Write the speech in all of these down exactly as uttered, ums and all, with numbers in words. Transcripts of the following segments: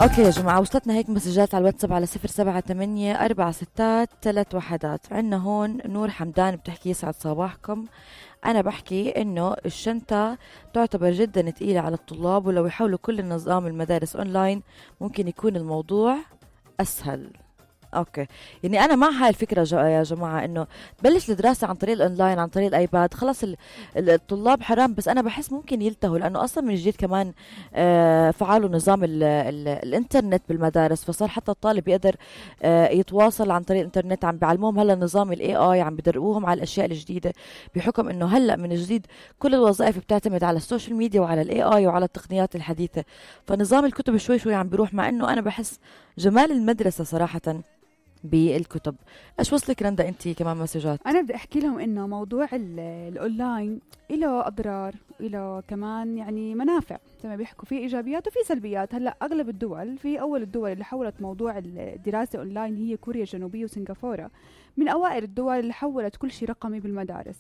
اوكي يا جماعة، وصلتنا هيك مسجات على الواتساب على صفر سبعة ثمانية أربعة ستات ثلاث وحدات. عنا هون نور حمدان بتحكي يسعد صباحكم. أنا بحكي إنه الشنطة تعتبر جدا تقيلة على الطلاب، ولو يحاولوا كل النظام المدارس أونلاين ممكن يكون الموضوع أسهل. اوكي، يعني انا مع هاي الفكره يا جماعه، انه تبلش الدراسه عن طريق الاونلاين، عن طريق الايباد. خلص الطلاب حرام، بس انا بحس ممكن يلتهوا، لانه اصلا من جديد كمان آه فعلوا نظام ال ال الانترنت بالمدارس، فصار حتى الطالب يقدر آه يتواصل عن طريق الانترنت. عم بيعلموهم هلا نظام الاي اي، عم بدربوهم على الاشياء الجديده، بحكم انه هلا من جديد كل الوظائف بتعتمد على السوشيال ميديا وعلى الاي اي وعلى التقنيات الحديثه. فنظام الكتب شوي شوي عم بيروح، مع انه انا بحس جمال المدرسه صراحه بالكتب. ايش وصلك رندا انتي كمان مسجات؟ انا بدي احكي لهم انه موضوع الاونلاين له اضرار، له كمان يعني منافع، زي ما بيحكوا في ايجابيات وفي سلبيات. هلا اغلب الدول، في اول الدول اللي حولت موضوع الدراسه اونلاين هي كوريا الجنوبيه وسنغافوره، من اوائل الدول اللي حولت كل شيء رقمي بالمدارس.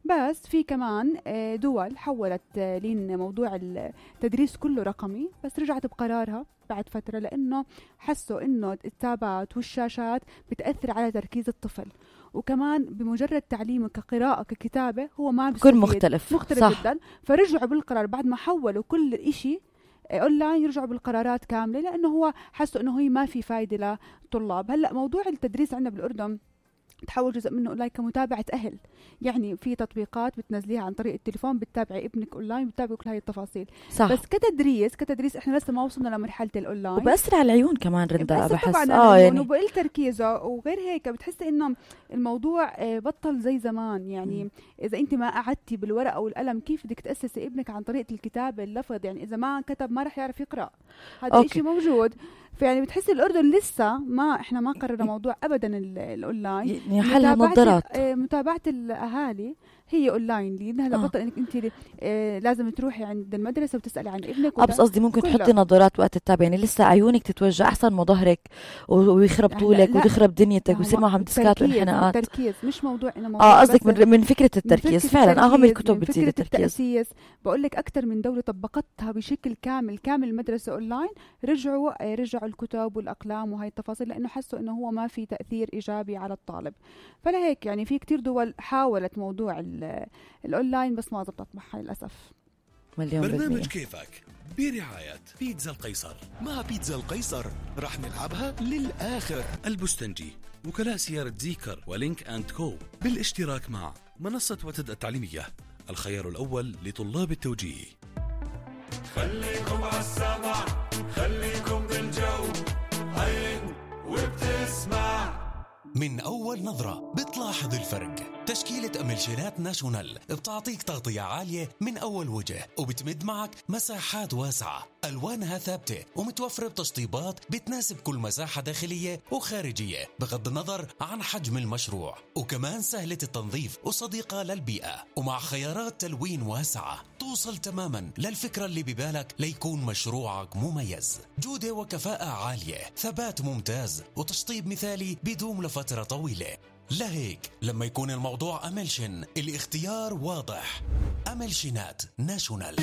بس في كمان دول حولت لين موضوع التدريس كله رقمي، بس رجعت بقرارها بعد فترة، لأنه حسوا إنه التابات والشاشات بتأثر على تركيز الطفل، وكمان بمجرد تعليمه كقراءة ككتابة هو ما بيكون مختلف مختلف صح. جدا. فرجعوا بالقرار بعد ما حولوا كل إشي أونلاين، يرجعوا بالقرارات كاملة، لأنه هو حسوا إنه هي ما في فايدة للطلاب. هلأ موضوع التدريس عندنا بالأردن تحول جزء منه أونلاين كمتابعة أهل، يعني في تطبيقات بتنزليها عن طريق التليفون، بتتابع ابنك أونلاين، بتتابع كل هاي التفاصيل صح. بس كتدريس كتدريس إحنا لسه ما وصلنا لمرحلة الأونلاين، وبأثر على العيون كمان رندا بحس آه يعني وبقل تركيزه. وغير هيك بتحسي إنه الموضوع بطل زي زمان، يعني م. إذا أنت ما قعدتي بالورقة والقلم كيف بدك تأسسي ابنك عن طريقة الكتابة اللفظ، يعني إذا ما كتب ما رح يعرف يقرأ، هذا الشيء موجود. فيعني بتحسي الأردن لسه ما إحنا ما قررنا موضوع أبدا الأونلاين، يعني حلها نظارات. متابعة الأهالي هي أونلاين، لأن هلا بطل إنك أنت آه لازم تروحي عند المدرسة وتسألي عن ابنك. بس قصدي ممكن تحطي نظارات وقت التابع، يعني لسه عيونك تتوجع أحسن ما ظهرك ويخرب طولك وتخرب دنيتك ويصير معهم ديسكات وانحناءات. التركيز مش موضوع إنه موضوع اه قصدك من, من فكرة التركيز فعلا. أهم الكتب بتزيد التركيز. التأسيس بقول لك أكتر من دولة طبقتها بشكل كامل كامل المدرسة أونلاين، رجعوا آه رجعوا الكتب والأقلام وهي التفاصيل، لأنه حسوا إنه هو ما في تأثير إيجابي على الطالب. فلهيك يعني في كتير دول حاولت موضوع الأونلاين بس ما زبطت معها للأسف. برنامج كيفك برعاية بيتزا القيصر. مع بيتزا القيصر رح نلعبها للآخر. البستنجي، وكلاء سيارة زيكر ولينك أند كو، بالاشتراك مع منصة وتد التعليمية، الخيار الأول لطلاب التوجيه. خليكم عالسمع، خليكم بالجو، هين وبتسمع. من أول نظرة بتلاحظ الفرق. تشكيلة أملشينات ناشونال بتعطيك تغطية عالية من أول وجه، وبتمد معك مساحات واسعة، ألوانها ثابتة ومتوفرة بتشطيبات بتناسب كل مساحة داخلية وخارجية بغض النظر عن حجم المشروع، وكمان سهلة التنظيف وصديقة للبيئة، ومع خيارات تلوين واسعة توصل تماما للفكرة اللي ببالك ليكون مشروعك مميز. جودة وكفاءة عالية، ثبات ممتاز، وتشطيب مثالي بدوم لفترة طويلة. لهيك لما يكون الموضوع أملشن الاختيار واضح. أملشنات ناشونال.